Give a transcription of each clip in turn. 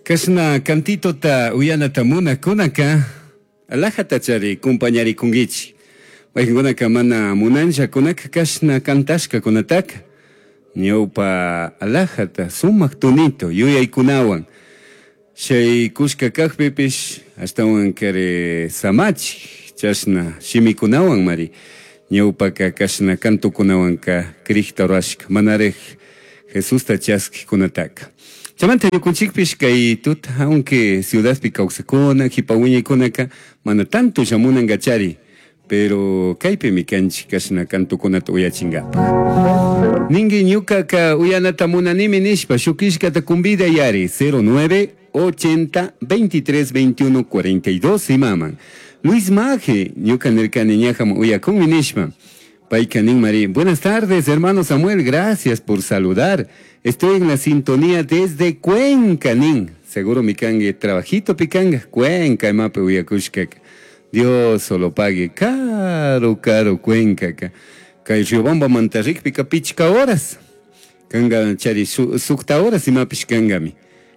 Cashna cantitota uyanata munajcunaca alajatachari compañaricunguichij. Maijancunaca mana munanllacunaca cashna cantashcacunataca ñaupa alajata sumaj tonito yuyaicunahuan shaicushca cajpipish ashtahuancari samachij chashna shimicunahuanmari ñaupaca cashna cantocunahuanca crijta rurashca manaraj Jesusta chasquijcunataca. Chaymanta ñucunchijpish kay tuta, aunque ciudadpi causajcuna, jipa huiñaicunaca mana tanto llamunangachari, pero kaypimi canchij cashna cantocunata uyachingapaj. Ningui ñucaca uyanata munanimi nishpa shuj quillcata convidayari 09 80 23 21 42 imaman. Luis Maje, ñuca nircani ñajaman uyacunmi nishpa. Paica nin mari, buenas tardes hermano Samuel, gracias por saludar. Estoy en la sintonía desde Cuenca nin. Seguro mi cangui trabajito picanga Cuenca imapi uyacushcaca. Dios solo pague caro caro Cuencaca. Kay Riobambamanta rikpika pichca horas. Kanga chari sukta horas imapish kangami.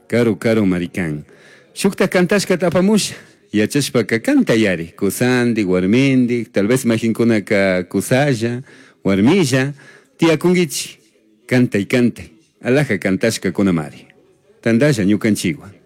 Karu karu mari kan. Shukta cantashkata apamusha. Yachashpaka cantayari. Kusandi, warmindi, tal vez majinkunaka kusalla, warmilla, tiyakunkichik. Cantay, cantay. Alaja cantashkakunamari. Tandalla ñukanchikwan.